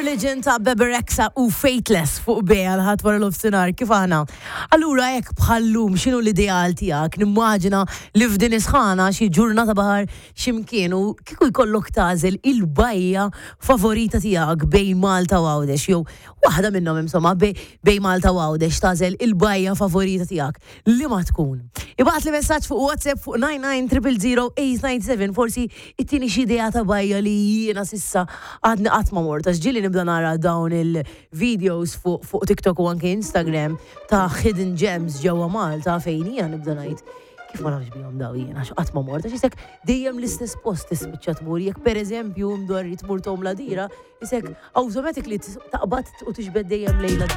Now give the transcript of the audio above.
Religion ta' Bebe Rexha u Faithless fuq Bea l-Ħadd wara nofsinhar kif aħna. Allura hekk bħal-lum x'inhu l-ideal tiegħek? Nimmaġina li f'din is-sħana xi ġurnata baħar x'imkien u kieku jkollok tagħżel il-bajja favorita tiegħek bejn Malta u Għawdex jew waħda minnhom insomma bejn Malta u Għawdex tagħżel il-bajja favorita tiegħek. Liema tkun? Ibgħatli messaġġ fuq WhatsApp fuq 99000897 forsi ittini xi idea ta' bajja li jiena s'issa għadni qatt ma mort għax ġieli nibda nara dawn il-videos fuq fuq TikTok u anke Instagram ta' hidden gems ġewwa Malta fejn jiena nibda ngħid kif ma nafx bihom daw jiena għax qatt ma mort għax isek dejjem l-istess post tispiċċa tmur jekk pereżempju mdorri tmur Tom Ladira isek automatically taqbad u tiġbed dejjem lejla.